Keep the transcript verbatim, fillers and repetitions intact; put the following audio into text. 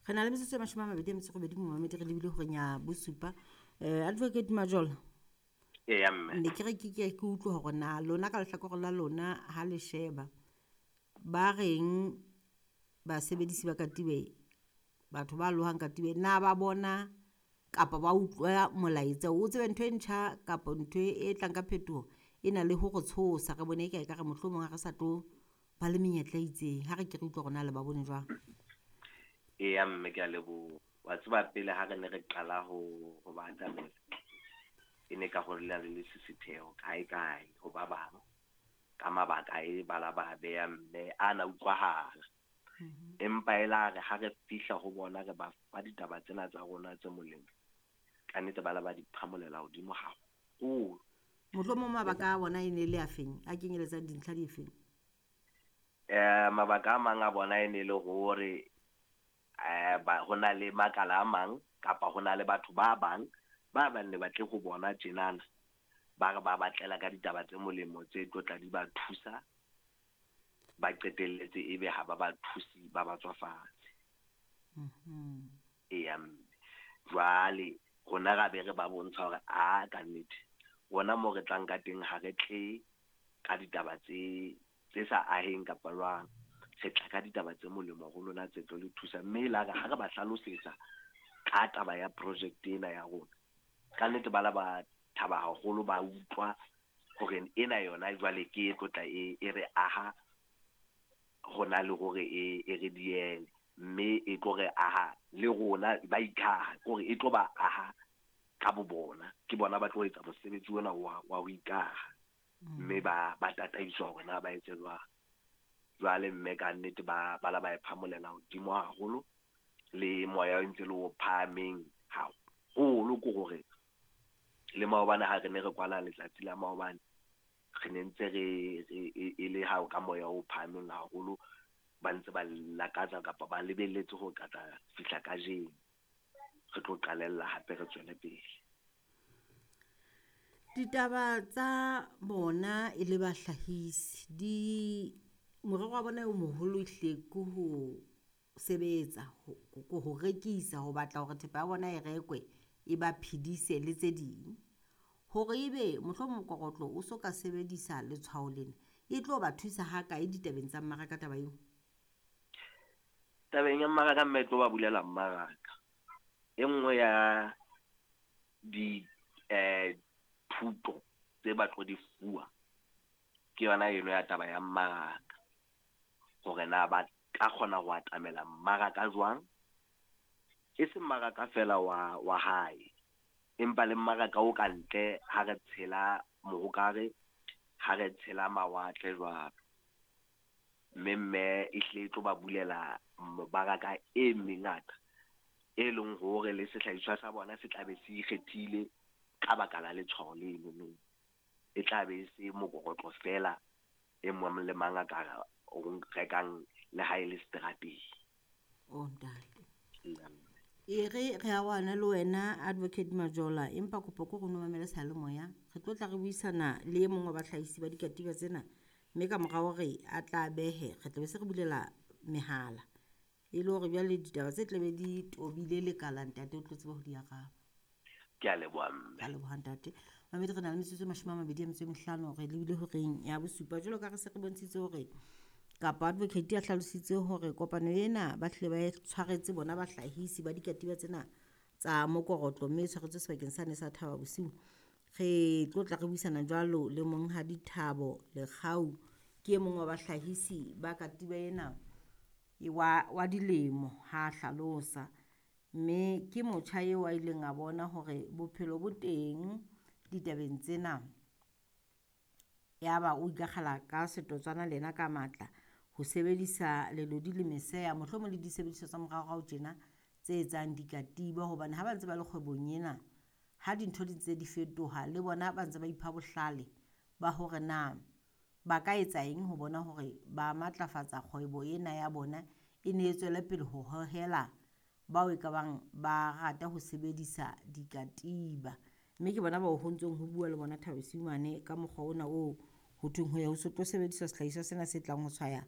Re na le metsotso e mashome a mabedi a metso e robedi, momamedi, re lebile horeng ya bosupa. um Advocate Majola, Eya mme. Ne ke re ke ke ke utlwe hore na lona ka lehlakore la lona ha le sheba ba reng basebedisi ba katiba, batho ba lohang katiba, na ba bona kapa ba utlwa molaetsa o tsebe ntho e ntjha kapa ntho e tlang ka phetoho e na le ho re tshosa, re bone e ka ekare mohlomong ha re sa tlo ba le menyetla e itseng. Ha re ke re utlwe hore na le ba bone jwang. Eya mme, ke a leboha. Wa tseba pele ha re ne re qala ho ho ba atamela, e ne ka ho le le lesisitheho kae kae ho ba bang ka mabaka e bala ba beha mme a na utlwahala. Empa e la re ha re fihla ho bona re ba fa ditaba tsena tsa rona tse molemo, ka nnete ba la ba di phamolela hodimo haholo. Mohlomong mabaka a bona e ne le a feng, a kenyeletsang dintlha di feng? Eh mabaka a mang a bona e ne le hore eh ba ho na le makala a mang kapa ho na le batho ba bang ba bang ne batle ho bona tjenana, ba re ba batlela ka ditaba tse molemo tse tlo tla di ba thusa, ba qetelletse ebe ha ba ba thusi, ba ba tswa fatshe. Mhm. Eya mme. Jwale rona ra be re ba bontsha hore a ka nnete rona mo re tlang ka teng ha re tle ka ditaba tse tse sa aheng kapa jwang, re tla ka ditaba tse molemo ho lona tse tlo le thusa. Mme la re ha re ba hlalosetsa ka taba ya project ena ya rona, ka nnete ba la ba thaba haholo, ba utlwa hore ena yona jwale ke e tlo tla e, e re aha hona le hore e, e re diele, mme e tlo re aha le rona ba ikaha, ke hore e tlo ba aha ka bo bona, ke bona ba tlo etsa mosebetsi ona wa, wa ho ikaha, mme ba, ba tataiswa hore na ba etse jwang. Jwale mme ka nnete ba, ba la ba e phamolela hodimo haholo, le moya o ntse le o phahameng haholo, ke hore le maobane ha re ne re kwala letsatsi la maobane, re ne ntse re, re e, e le ha ka moya o phahameng haholo, ba ntse ba lakatsa kapa ba lebelletse ho ka tla fihla kajeno, re tlo qalella hape re tswele pele. Ditaba tsa bona e le bahlahisi di morero wa bona o moholo ehlile ke ho sebetsa, ho, ho rekisa, ho batla hore thepa ya bona e rekwe, e ba phedise le tse ding. Hore ebe mohlomong mokorotlo o so ka sebedisa letshwao lena, e tlo ba thusa ha kae ditabeng tsa mmaraka taba eo? Tabeng ya mmaraka mme e tlo ba bulela mmaraka. E nngwe ya di, eh, thuto tse ba tlo di fuwa ke yona eno ya taba ya mmaraka, hore na ba ka kgona ho atamela mmaraka jwang, e se mmaraka fela wa, wa hae, empa le mmaraka o ka ntle ha re tshela mohokare, ha re tshela mawatle jwalo. Mme mme e hle e tlo ba bulela mmaraka e mengata, e leng hore le sehlahiswa sa bona se tla be se ikgethile ka baka la letshwao leno. E tla be e se mokorotlo fela e mong le mang a ka o rekang le ha e le seterateng. O ntate. E re re arohane le wena Advocate Majola, empa kopo ke hore o no mamele seyalemoya. Re tlo tla re buisana le e mong wa bahlahisi ba dikatiba tsena, mme ka mora hore a tla behe, re tla be se re bulela mehala e le hore jwale ditaba tse tla be di tobile lekala, ntate o tlo tseba ho di araba. Ke a leboha mme. Ke a leboha ntate. Mamedi, re na le metsotso e mashome a mabedi a metso e mehlano, re lebile horeng ya bosupa. Jwalo ka re se re bontshitse hore kapa advocate a hlalositse hore kopano ena ba hlile ba e tshwaretse bona bahlahisi ba dikatiba tsena tsa mokorotlo, mme e tshwaretswe sebakeng sane sa Thaba Bosiu. Re tlo tla re buisana jwalo le monghadi Thabo Lekgau, ke e mong wa bahlahisi ba katiba ena wa, wa dilemo ha hlalosa. Mme ke motjha eo a ileng a bona hore bophelo bo teng ditabeng tsena, yaba o ikakgela ka setotswana le yena ka matla ho sebedisa lelodi le meseya, mohlomong le disebediswa tsa moraorao tjena tse etsang dikatiba, hobane ha ba ntse ba le kgwebong ena, ha dintho di ntse di fetoha le bona ba ntse ba ipha bohlale ba hore na ba ka etsa eng ho bona hore ba matlafatsa kgwebo ena ya bona e ne e tswele pele ho hohela bao e ka bang ba rata ho sebedisa dikatiba. Mme ke bona bao ho ntsong ho bua le bona Thabo Bosiu mane ka mokgwa ona oo ho thweng ho ya ho so tlo sebediswa sehlahiswa sena se tlang ho tshwaya